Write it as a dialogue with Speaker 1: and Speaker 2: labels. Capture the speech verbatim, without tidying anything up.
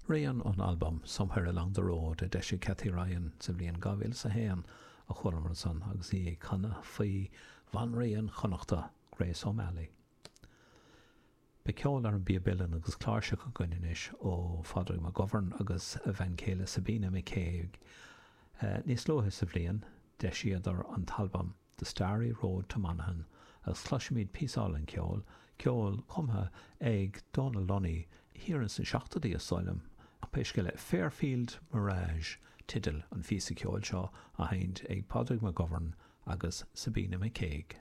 Speaker 1: Rian ón albam Somewhere Along the Road a d'eisigh Kathy Ryan sa bhliain dhá mhíle is a haon a chualamar ansan agus í ag canadh faoi bhanríon Chonnachta, Grace O'Malley. Beidh ceol ar an bpíob uilleann agus cláirseach againn anois ó Phádraig McGovern agus a bhean chéile Sabina McCague. Níos luaithe sa bhliain, d'eisíodar an t-albam The Starry Road to Monaghan agus cloisfimid píosa álainn ceoil, ceol cumtha ag Dónal Lunny thiar ins na seachtóidí is dóigh liom. Pé scéal é, Fairfield Mirage teideal an phíosa ceoil seo á sheinnt ag Pádraig McGovern agus Sabina McCague.